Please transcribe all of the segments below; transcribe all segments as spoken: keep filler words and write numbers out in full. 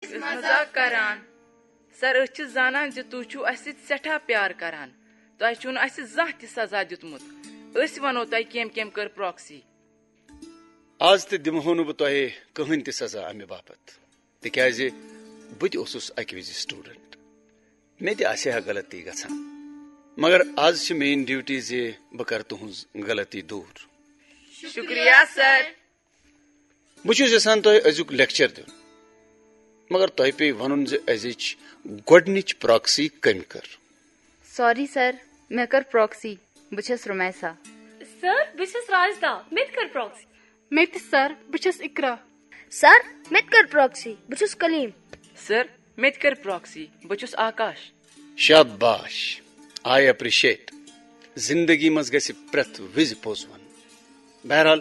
مذاق کران۔ سر، أسۍ چھِ زانان زِ تُہۍ چھِو اَسہِ سۭتۍ سٮ۪ٹھاہ پیار کران۔ تۄہہِ چھُو نہٕ اَسہِ زانٛہہ تہِ سزا دیُتمُت۔ أسۍ وَنو تۄہہِ کٔمۍ کٔمۍ کٔر پراکسی۔ آز تہِ دِمہو نہٕ بہٕ تۄہہِ کٕہٕنۍ تہِ سزا اَمہِ باپتھ، تِکیٛازِ بہٕ تہِ اوسُس اَکہِ وِزِ سٹوڈنٹ۔ مےٚ تہِ آسہِ ہا غلطی گژھان، مگر آز چھِ میٲنۍ ڈیوٹی زِ بہٕ کرٕ تُہٕنٛز غلطی دوٗر۔ شُکریہ سر۔ بہٕ چھُس یژھان تۄہہِ أزیُک لیکچر دیُن، مگر تۄہہِ پیٚیہِ ونُن زِ أزِچ گۄڈٕنِچ پراکسی کٔمۍ کٔر۔ سوری سر، مےٚ کٔر پراکسی۔ بہٕ چھَس رُمیسا۔ سر، بہٕ چھَس راجدا۔ مےٚ تہِ کٔر پراکسی۔ مےٚ تہِ سر، بہٕ چھَس اقرا۔ سر، مےٚ تہِ کٔر پراکسی۔ بہٕ چھُس کلیٖم۔ سر، مےٚ تہِ کٔر پراکسی۔ بہٕ چھُس آکاش۔ شاباش، I appreciate۔ زندگی منٛز گژھِ پرٛٮ۪تھ وِزِ پوٚز ونُن۔ بہرحال،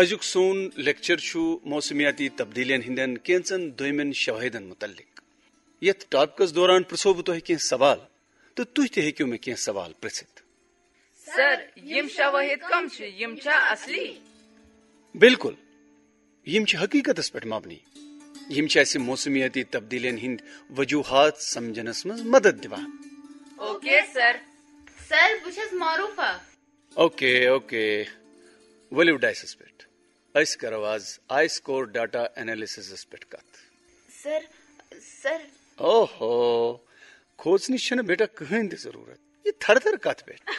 أزیُک سون لیکچر چھُ موسمیاتی تبدیلیَن ہٕنٛدٮ۪ن کینٛژن دویمٮ۪ن شوٲہدن متعلق۔ یتھ ٹاپکس دوران پرژھو بہٕ تۄہہِ کینٛہہ سوال، تہٕ تُہۍ تہِ ہیٚکِو مےٚ کینٛہہ سوال پرژھِتھ۔ سر، یِم شوٲہد کم چھِ؟ یِم چھا اصلی؟ بِلکُل، یِم چھِ حقیقتس پٮ۪ٹھ مبنی۔ یِم چھِ اَسہِ موسمیٲتی تبدیلیَن ہٕنٛدۍ وجوہات سمجھنس منٛز مدد دِوان۔ Okay sir. سر، بہٕ چھَس معروفہ۔ اوکے، اوکے، ؤلِو ڈائسس پٮ۪ٹھ۔ أسۍ کرو آز آئی سکور ڈیٹا انالیسسس پٮ۪ٹھ کتھ۔ سر، سر۔ اوہو، کھوژنٕچ چھنہٕ بیٹا کٕہٕنۍ تہِ ضروٗرت۔ یہِ تھر تھر کتھ پٮ۪ٹھ؟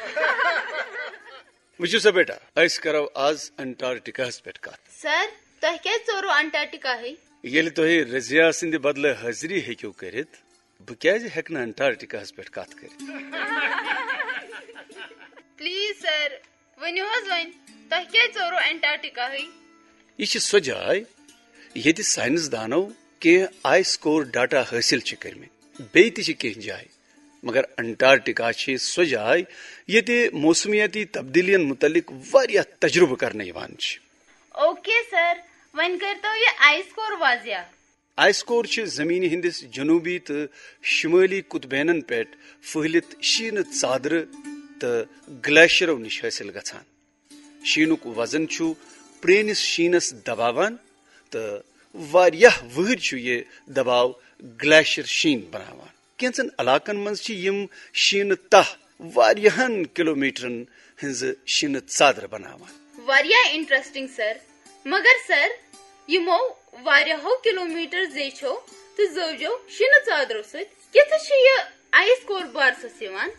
وٕچھِو سا بیٹا، أسۍ کرو آز انٹارکٹیکاہس پٮ۪ٹھ کتھ۔ سر، تۄہہِ کیٛازِ ژوروٕ انٹارکٹیکاہٕے؟ ییٚلہِ تُہۍ رضیا سٕنٛدِ بدلہٕ حٲضری ہیٚکِو کٔرِتھ، بہٕ کیٛازِ ہیٚکہٕ نہٕ انٹارکٹیکاہس پٮ۪ٹھ کتھ کٔرِتھ؟ پلیز سر، ؤنِو حظ وۄنۍ، تۄہہِ کیٛازِ ژوروٕ انٹارکٹیکاہٕے؟ یہِ چھِ سۄ جاے ییٚتہِ ساینس دانو کینٛہہ آئی سکور ڈیٹا حٲصِل چھِ کٔرمٕتۍ۔ بیٚیہِ تہِ چھِ کینٛہہ جایہِ، مگر انٹارکٹیکا چھِ سۄ جاے ییٚتہِ موسمیٲتی تبدیلیَن متعلق واریاہ تجربہٕ کرنہٕ یِوان چھِ۔ اوکے سر، وۄنۍ کٔرتو یہِ آئی سکور واضح۔ آئی سکور چھِ زمینہِ ہٕنٛدِس جنوبی تہٕ شمٲلی قطبینن پٮ۪ٹھ پھٔہلِتھ شیٖنہٕ ژادرٕ تہٕ گلیشیرو نِش حٲصِل گژھان۔ شیٖنُک وزن چھُ پرٛٲنِس شیٖنس دباوان تہٕ واریاہ وٕہٕرۍ چھُ یہِ دباو گلیشیر شیٖن بناوان۔ کینٛژن علاقن منٛز چھِ یِم شیٖنہٕ تاہ واریاہن کلومیٹرن ہٕنٛزٕ شیٖنہٕ ژادرٕ بناوان۔ واریاہ انٹرسٹنگ سر۔ مگر سر، یِمو واریاہو کلومیٹر زیچھو تہٕ زٲوجو شیٖنہٕ ژادرو سۭتۍ کِتھٕ چھِ یہِ آئی سکور بارسس یِوان؟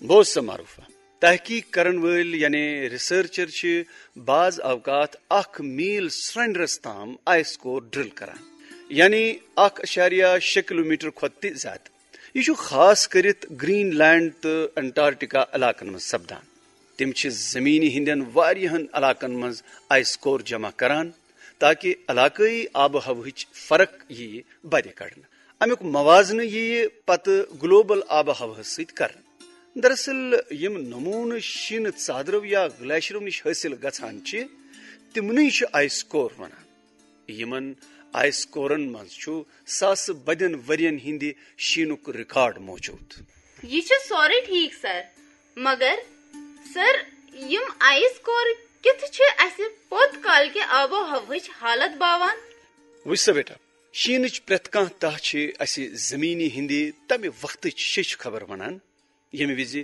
بوز سا معروفہ، تحقیق کرن وٲلۍ یعنی ریسرچر چھِ بعض اوقات اکھ میل سرنڈرس تام آئی سکور ڈرل کران، یعنی اکھ اعشاریہ شےٚ کلومیٹر کھۄتہٕ تہِ زیادٕ۔ یہِ چھُ خاص کٔرِتھ گرین لینڈ تہٕ انٹارکٹیکا علاقن منٛز سپدان۔ تِم چھِ زمینہِ ہٕنٛدٮ۪ن واریاہن علاقن منٛز آئی سکور جمع کران، تاکہ علاقٲیی آب و ہوہٕچ فرق ییہِ بَدِ کڑنہٕ۔ امیُک موازنہٕ ییہِ پتہٕ گلوبل آب و ہوہس سۭتۍ کرنہٕ۔ دراصل، یِم نمونہٕ شیٖنہٕ ژادرو یا گلیشرو نِش حٲصِل گژھان چھِ، تِمنٕے چھِ آئی سکور ونان۔ یِمن آئی سکورن منٛز چھُ ساسہٕ بدٮ۪ن ؤرین ہٕنٛدِ شیٖنُک ریکارڈ موجود۔ یہِ چھُ سورُے ٹھیک سر، مگر سر، یِم آئی سکور کِتھ چھِ اَسہِ پوٚت کالکہِ آب و ہوہٕچ حالت باوان؟ وٕچھ سا بیٹا، شیٖنٕچ پرٛٮ۪تھ کانٛہہ تاہ چھِ اَسہِ زمینہِ ہٕنٛدِ تمہِ وقتٕچ شیٚچھ خبر ونان، ییٚمہِ وِزِ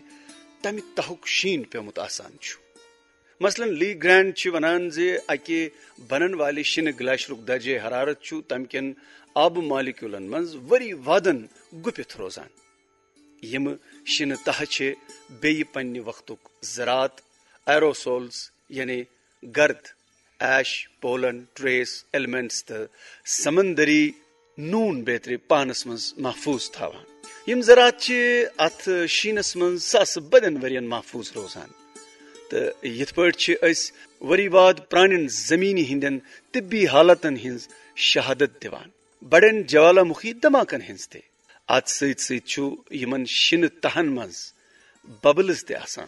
تمہِ تہُک شیٖن پیومُت آسان چھُ۔ مثلاً، لی گرینڈ چھِ ونان زِ اکہِ بنن والہِ شِنہٕ گلیشرُک درجہ حرارت چھُ تمہِ کٮ۪ن آبہٕ مالیکیولن منٛز ؤری وادن گُپِتھ روزان۔ یِم شِنہٕ تہہ چھِ بیٚیہِ پننہِ وقتُک ذرات، ایروسولز، یعنی گرد، ایش، پولن، ٹریس ایلیمنٹس تہٕ سمندری نون بیترِ پانس منٛز محفوظ تھاوان۔ یِم ذرات چھِ اتھ شیٖنس منٛز ساسہٕ بدٮ۪ن ؤرین محفوظ روزان۔ تہٕ یِتھ پٲٹھۍ چھِ أسۍ ؤری واد پرانٮ۪ن زمینہِ ہٕنٛدٮ۪ن طبی حالتن ہٕنٛز شہادت دِوان، بڑٮ۪ن جوالامُخی دھماکن ہٕنٛز تہِ۔ اتھ سۭتۍ سۭتۍ چھُ یِمن شِنہٕ تہن منٛز ببلز تہِ آسان،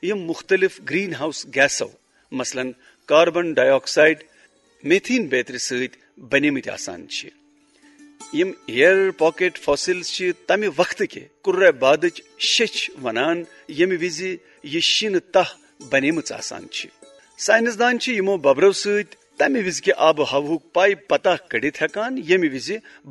یِم مُختٔلِف گرین ہاؤس گیسو، مثلاً کاربن ڈائی آکسائیڈ، میتھین بیترِ سۭتۍ بنیمٕتۍ آسان چھِ۔ یِم ایئر پاکٹ فاسلز چھِ تمہِ وقتہٕ کہِ کرہ بادٕچ شیٚچھ ونان، ییٚمہِ وِزِ یہِ شِنہٕ تاہ بنیمٕژ آسان چھِ۔ سائنسدان چھِ یِمو ببرو سۭتۍ تمہِ وِزِ کہِ آب و ہوہُک پاے پتہ کٔڑِتھ ہٮ۪کان، ییٚمہِ وِزِ